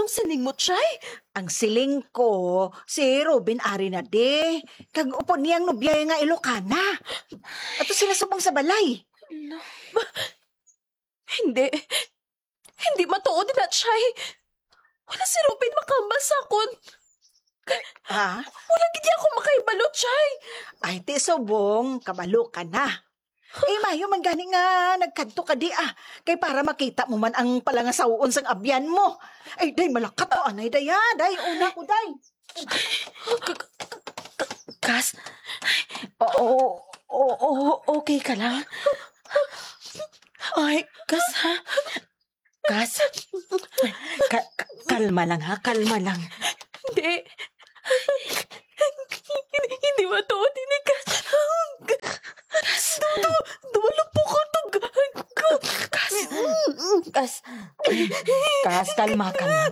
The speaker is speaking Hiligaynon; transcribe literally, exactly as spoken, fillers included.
siling mo, Chay? Ang siling ko, si Ruben ari na di. Kag upod niyang nobya nga Ilocana. Ato sila subong sa balay. Hindi. Hindi matuod na, Chay. Wala si Ruben makahambal sa akon. Ha? Wala gid ako makahibalo, Chay. Ay, ti subong, kabalo ka na. Eh, mayo man gani nga nagkadto ka di, ah. Kay para makita mo man ang palangasawon sang abyan mo. Ay, day, malakat to, anay, day, ha? Day, una ko, day. Kas? Oo, oo, okay ka lang? Ay, Kas, ha? Kas, ka- ka- kalma lang, ha? Kalma lang. Hindi. Hindi matuod ini, Kas. Kas. Du- du- Duwalo po ko to. Kas. Kas. Kas, kalma, kalma.